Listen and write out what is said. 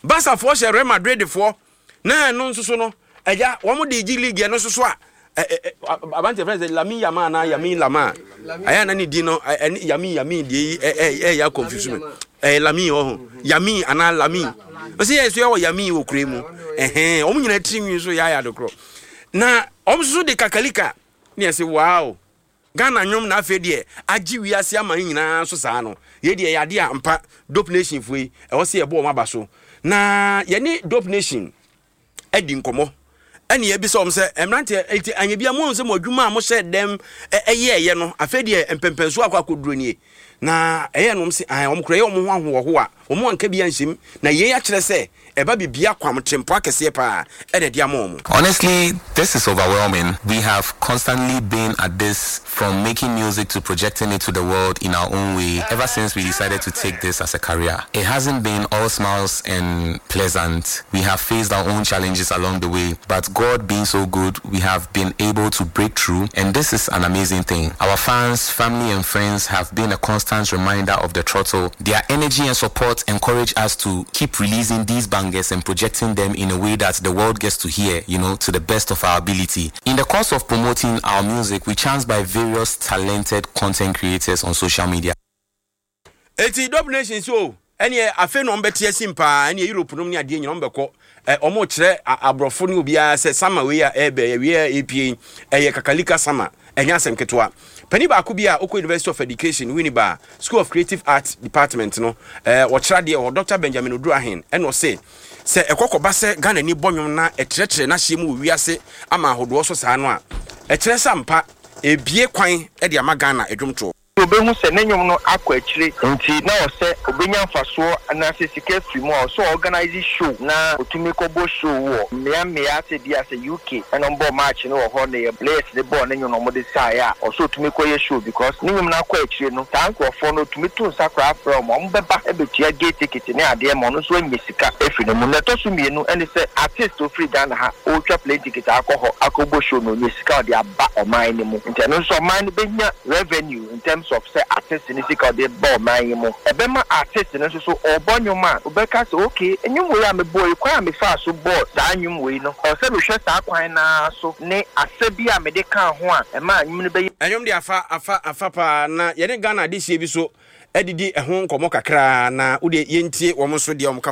Barcafoɔ hyɛ Real Madridfoɔ na ɛno nso so no ɛgya wɔn de gye league ɛno nso so a aberanteɛ fɛn sɛ Lamine Yamal anaa Yamin Lamal ɛyɛ na ne din no ɛne Yamin Yamin deɛ yi ɛyɛ akɔnfusu mi ɛyɛ Lamine wɔ ho Yamin anaa Lamine ɔsɛ yɛ so yɛ wɔ Yamin wɔ kure mu ɛhɛn wɔn nyinaa tiri nwi so yɛ ayɛ adekorɔ na wɔn nso so de kakalika ne yɛ sɛ wow. Ghana nnwom na afei deɛ agye wiase aman nyinaa so saa no, yei deɛ ɛyɛ adeɛ a ampa Dope Nation foɔ yi ɛwɔ sɛ yɛbɔ wɔn aba so. Na yɛne Dope Nation adi nkɔmmɔ ɛne yɛbisa wɔn sɛ mmeranteɛ enti anyɛ bia moahu sɛ mo adwuma a mohyɛ dɛm ɛyɛɛyɛ no afei deɛ mpɛmpɛnsoɔ akɔ akɔduro nie. Na ɛyɛ nom se ae wɔn kora ɛyɛ wɔn ho ahoɔhoa wɔn anka bi anhyɛm na yei akyerɛ sɛ ɛba bibia kwam trempɔ akɛseɛ paa ɛna ɛde ama wɔn. Honestly, this is overwhelming. We have constantly been at this from making music to projecting it to the world in our own way ever since we decided to take this as a career. It hasn't been all smiles and pleasant. We have faced our own challenges along the way, but God being so good, we have been able to break through, and this is an amazing thing. Our fans, family, and friends have been a constant reminder of the throttle. Their energy and support encourage us to keep releasing these bangers and projecting them in a way that the world gets to hear, you know, to the best of our ability. In the course of promoting our music, we chanced by various talented content creators on social media. Eti Dope Nation so ɛneɛ afei na ɔmbɛte asim paa ɛneɛ Europe nom ne adeɛ nyina ɔmbɛkɔ ɛ ɔmo kyerɛ aborɔfo ne obiara sɛ sama wei a ɛɛbɛ awie a ɛpie yi ɛyɛ kakalika sama ɛnyɛ asɛm ketewa. Panin baako bi a ɔkɔ University of Education Winneba School of Creative Arts Department no ɛ ɔkyerɛ adeɛ wɔ hɔ Doctor Benjamin Oduro-Ahen ɛna ɔse sɛ ɛkɔ kɔba sɛ Ghanani bɔ nwom na ɛtrɛtrɛ n'ahyeɛ mu wɔ wiase ama ahodoɔ so saa no a ɛkyerɛ sɛ ampa ɛrebue kwan de ama Ghana dwomtoɔ. Obehu sɛ ne nnwom no akɔ akyire nti na ɔsɛ obenya mfasoɔ anaasɛ sika afiri mu a ɔsɛ ɔorganise show na otumi kɔbɔ show wɔ mmea mmea sɛ bia sɛ UK ɛna ɔmo bɔɔ match no wɔ hɔ na yɛ players no bɔɔ ne nnwom na ɔmo de saeɛ a ɔsɛ otumi kɔyɛ show because ne nnwom no akɔ akyire no saa nkorɔfoɔ no otumi to nsa koraa frɛ ɔmo a ɔmo bɛba abɛtua gate ticket ne adeɛ ma ɔno nso anya sika afiri ne mu. Nea ɛtɔ so mmienu ne sɛ artist a ɔfiri Ghana ha ɔretwa plane ticket akɔ hɔ akɔbɔ show no ɔnya sika a ɔde aba ɔman no mu nti ɛno nso ɔman no bɛnya revenue in terms of sɛ artist no sika a ɔde ba ɔman yi mu. Ɛbɛma artist no nso so ɔrebɔ nnwom a ɔbɛka sɛ okay nnwom wei a mebɔɔ yi kwan a mefaa so bɔɔ saa nnwom wei no ɛwɔ sɛ mehwɛ saa kwan no ara so ne asɛ bi a mede kaa ho a ɛmaa nnwom no bɛyɛ Nnwom deɛ afa afa afa paa na yɛne Ghana adehyeɛ bi so adidi ɛho nkɔmmɔ kakra na wodeɛ yɛntie wɔn nso deɛ wɔn ka fa.